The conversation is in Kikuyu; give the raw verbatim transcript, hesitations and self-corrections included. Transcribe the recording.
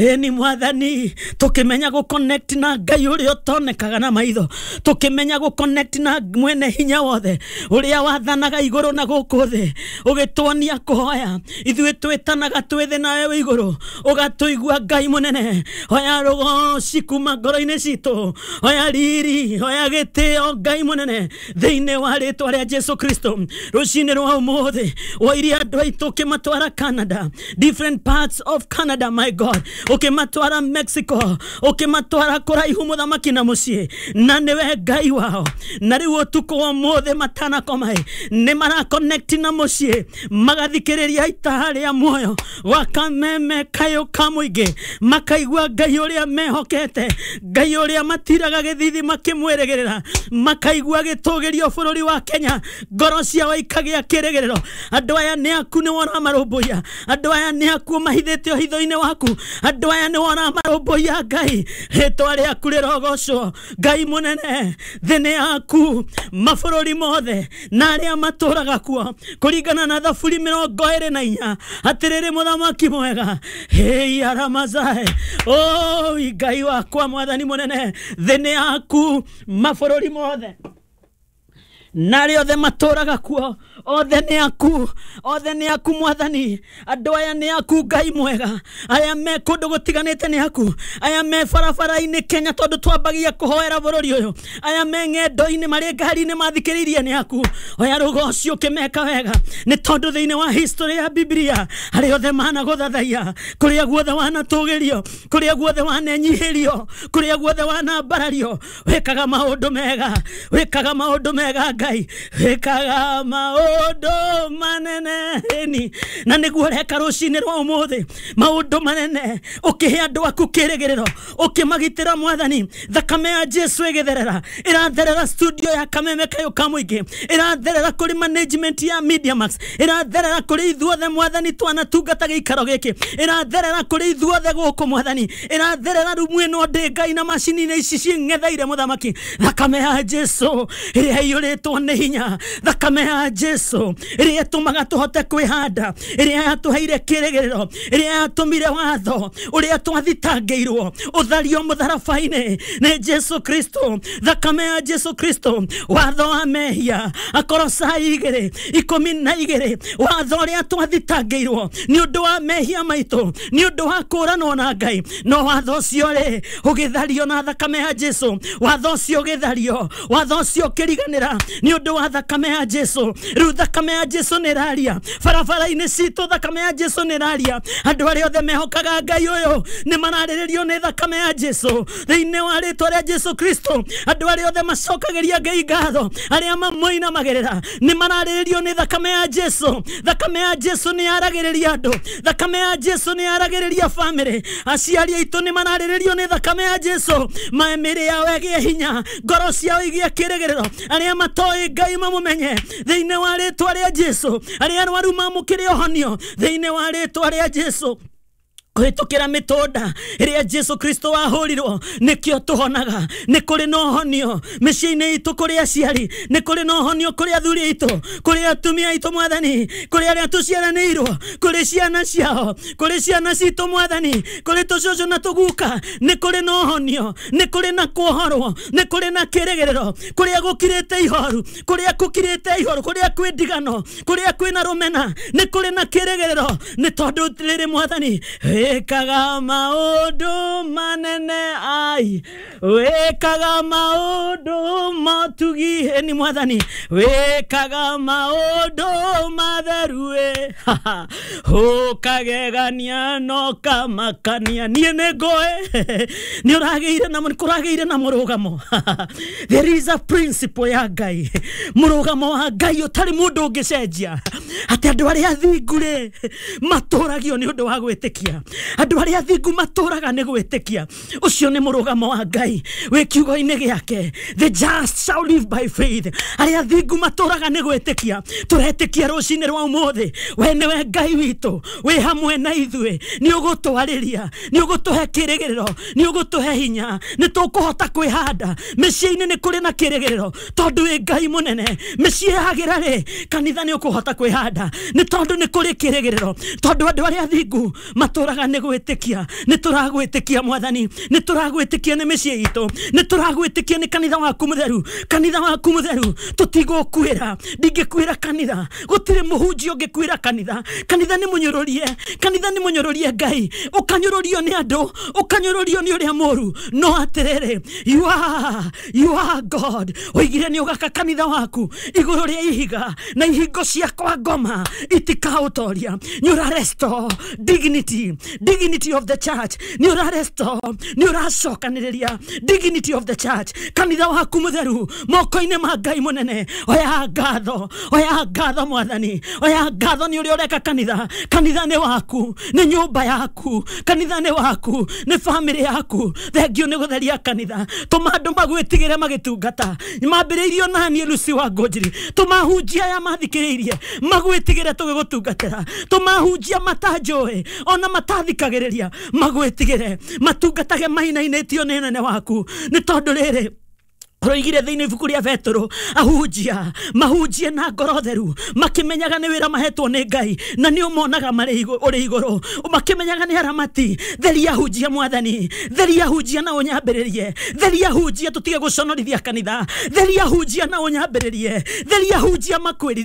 Ĩni mwathani, tũkĩmenya gũ connect na Ngai ũrĩa ũtonekaga na maitho, tũkĩmenya gũ connect na mwene hinya wothe ũrĩa wathanaga igũrũ na gũkũ thĩ, ũgĩtuonia kũhoya. Ithuĩ twĩtanaga twĩ thĩ nawe wĩ igũrũ, ũgatũigua Ngai mũnene. Hoya rũgoci kuma ngoro-inĩ citũ, hoya riri, hoya gĩtĩo Ngai mũnene, thĩinĩ wa rĩtwa rĩa Jesu Kristo. Rũcinĩ rwa ũmũthĩ woirie andũ aitũ ũkĩmatwara Canada, different parts of Canada, my God, ũkĩmatwara Mexico, ũkĩmatwara kũraihu mũthamaki na mũciĩ, na nĩwe Ngai wao. Na rĩu ũtukũ wa ũmũthĩ matanakoma nĩ mara connect na mũciĩ, magathikĩrĩria itaha rĩa muoyo gwa Kameme Kayũ ka mũingĩ, makaigua Ngai ũrĩa mehokete, Ngai ũrĩa matiraga gĩthithi makĩmwĩrĩgĩrĩra, makaigua gĩtũgĩrio bũrũri wa Kenya, ngoro ciao ikagĩa kĩrĩgĩrĩro. Andũ aya nĩ aku nĩ wona marũmbũiya, andũ aya nĩ aku mahithĩte hitho-inĩ waku, andũ aya nĩ wona marũmbũiya Ngai. Rĩtwa rĩaku rĩrogocwo Ngai mũnene. Thĩ nĩ yaku, mabũrũri mothe na arĩa matũraga kuo, kũringana na Thaburi mĩrongo ĩrĩ na inya. Atĩrĩrĩ mũthamaki mwega, hei aramazae, oi Ngai wakwa mwathani mũnene, thĩ nĩ yaku, mabũrũri mothe na arĩa othe matũraga kuo, othe nĩ aku, othe nĩ aku mwathani. Andũ aya nĩ aku Ngai mwega, aya me kũndũ gũtiganĩte nĩ aku, aya me barabara-inĩ Kenya tondũ twambagia kũhoera bũrũri ũyũ, aya me ng'endo-inĩ marĩ ngari-inĩ mathikĩrĩirie nĩ aku. Oya rũgoci ũkĩmeka wega, nĩ tondũ thĩinĩ wa history ya Biblia arĩa othe managũthathaiya, kũrĩa guothe wanatũgĩrio, kũrĩa guothe wanenyihĩrio, kũrĩa guothe wanambarario, wĩkaga maũndũ mega, wĩkaga maũndũ mega Ngai, wĩkaga maũndũ manene. Ĩni na nĩguo ũreka rũcinĩ rwa ũmũthĩ, maũndũ manene, ũkĩhe andũ aku kĩrĩgĩrĩro, ũkĩmagitĩra mwathani. Thakame ya Jesu ĩgĩtherera, ĩratherera studio ya Kameme Kayũ ka mũingĩ, ĩratherera kũrĩ management ya Media Max, ĩratherera kũrĩ ithuothe mwathani twanatungata gĩikaro gĩkĩ, ĩratherera kũrĩ ithuothe gũkũ mwathani, ĩratherera rumu ĩno ndĩ Ngai na macini-inĩ ici cing'etheire mũthamaki. Thakame ya Jesu ĩrĩa ĩiyũrĩtwo nĩ hinya, thakame ya Jesu ĩrĩa ĩtũmaga tũhote kwĩhanda, ĩrĩa yatũheire kĩrĩgĩrĩro, ĩrĩa yatũmire watho ũrĩa twathitangĩirwo ũthario mũtharaba-inĩ nĩ Jesu Kristo. Thakame ya Jesu Kristo, watho wa mehia, Akorosai igĩrĩ ikũmi na igĩrĩ, watho ũrĩa twathitangĩirwo nĩ ũndũ wa mehia maitũ, nĩ ũndũ wa kũũranwo na Ngai, no watho ũcio rĩ ũgĩthario na thakame ya Jesu, watho ũcio ũgĩthario, watho ũcio ũkĩriganĩra nĩ ũndũ wa thakame ya Jesu. Rĩu thakame ya Jesu nĩ ĩraria barabara-inĩ citũ, thakame ya Jesu nĩ ĩraria. Andũ arĩa othe mehokaga Ngai ũyũ nĩ mararĩrĩrio nĩ thakame ya Jesu thĩinĩ wa rĩtwa rĩa Jesu Kristo. Andũ arĩa othe macokagĩria Ngai ngatho, arĩa mamũinamagĩrĩra, nĩ mararĩrĩrio nĩ thakame ya Jesu. Thakame ya Jesu nĩ yaragĩrĩria andũ, thakame ya Jesu nĩ yaragĩrĩria famĩlĩ, aciari aitũ nĩ mararĩrĩrio nĩ thakame ya Jesu. Mĩĩrĩ yao ĩgĩe hinya, ngoro ciao igĩe kĩrĩgĩrĩro, arĩa matoĩ Ngai mamũmenye thĩinĩ wa rĩtwa rĩa Jesu, arĩa arwaru mamũkĩre ũhonio thĩinĩ wa rĩtwa rĩa Jesu. Kũhĩtũkĩra mĩtũnda ĩrĩa Jesu Kristo wahũrirwo nĩkĩo tũhonaga. Nĩ kũrĩ na ũhonio mĩciĩ-inĩ itũ, kũrĩ aciari, nĩ kũrĩ na ũhonio kũrĩ athuri aitũ, kũrĩ atumia aitũ mwathani, kũrĩ arĩa tũciaranĩirwo, kũrĩ ciana ciao, kũrĩ ciana citũ mwathani, kũrĩ tũcũcũ na tũguka. Nĩ kũrĩ na ũhonio, nĩ kũrĩ na kuohorwo, nĩ kũrĩ na kĩrĩgĩrĩro. Kũrĩa gũkirĩte ihoru, kũrĩa gũkirĩte ihoru, kũrĩa kwĩ ndigano, kũrĩa kwĩna rũmena, nĩ kũrĩ na kĩrĩgĩrĩro, nĩ tondũ rĩrĩ mwathani wĩkaga maũndũ manene, ai wĩkaga maũndũ motugi. Ĩni mwathani wĩkaga maũndũ matheru, ĩ ũkagegania no kamakania. Niĩ nĩ ngũĩ nĩ ũragĩire na kũragĩire na mũrũgamo. There is a principle ya Ngai, mũrũgamo wa Ngai ũtarĩ mũndũ ũngĩcenjia, atĩ andũ arĩa athingu rĩ matũragio nĩ ũndũ wa gwĩtĩkia, andũ arĩa athingu matũraga nĩ gwĩtĩkia. Ũcio nĩ mũrũgamo wa Ngai. Ngai wĩ kiugo-inĩ gĩake, the just shall live by faith. Arĩa athingu matũraga nĩ gwĩtĩkia. Tũretĩkia rũcinĩ rwa ũmũthĩ we nĩwe Ngai witũ, wĩ hamwe na ithuĩ, nĩ ũgũtwarĩria, nĩ ũgũtũhe kĩrĩgĩrĩro, nĩ ũgũtũhe hinya, nĩ tũkũhota kwĩhanda mĩciĩ-inĩ. Nĩ kũrĩ na kĩrĩgĩrĩro tondũ wĩ Ngai mũnene. Mĩciĩ yagĩra rĩ, kanitha nĩ ũkũhota kwĩhanda nĩ tondũ nĩ kũrĩ kĩrĩgĩrĩro, tondũ andũ arĩa athingu matũraga nĩ gwĩtĩkia. Nĩ tũragwĩtĩkia Mwathani, nĩ tũragwĩtĩkia nĩ mĩciĩ itũ, nĩ tũragwĩtĩkia nĩ kanitha waku mũtheru. Kanitha waku mũtheru tũtigũkuĩra, ndingĩkuĩra kanitha, gũtirĩ mũhunjia ũngĩkuĩra kanitha. Kanitha nĩ mũnyũrũrie, kanitha nĩ mũnyũrũrie Ngai, ũkanyũrũrio nĩ andũ, ũkanyũrũrio nĩ ũrĩa mũru, no atĩrĩrĩ, you are, you are God. Oigire nĩ ũgaka kanitha waku igũrũ rĩa ihiga, na ihingo cia kwa ngoma itikaũtoria. Nĩ ũra restore dignity, dignity of the church. Nĩ ũra restore, nĩ ũracokanĩrĩria dignity of the church, kanitha waku mũtheru moko-inĩ ma Ngai mũnene. Oya ngatho, oya ngatho Mwathani, oya ngatho nĩ ũrĩa ũreka kanitha. Kanitha nĩ waku, nĩ nyũmba yaku, kanitha nĩ waku, nĩ famĩlĩ yaku. Thengio nĩ gũtheria kanitha. Tũma andũ magwĩtigĩre magĩtungata. Mambĩrĩirio naniĩ Lucy wa Ngũnjiri, tũmahunjia aya mathikĩrĩirie magwĩtigĩre tũgĩgũtungatĩra. Tũmahunjia matanjũĩ ona matathikagĩrĩria magwĩtigĩre, matungatage mainainĩtio nĩ ũnene waku, nĩ tondũ rĩrĩ roigire thĩinĩ ibuku rĩa Petero, ahunjia mahunjie na ngoro theru, makĩmenyaga nĩ wĩra mahetwo nĩ Ngai na nĩ ũmonaga marĩ ũrĩ igũrũ, makĩmenyaga nĩ aramati. Theria ahunjia Mwathani, theria ahunjia na ũnyambĩrĩrie, theria ahunjia tũtige gũconorithia kanitha, theria ahunjia na ũnyambĩrĩrie, theria ahunjia makwĩrithie.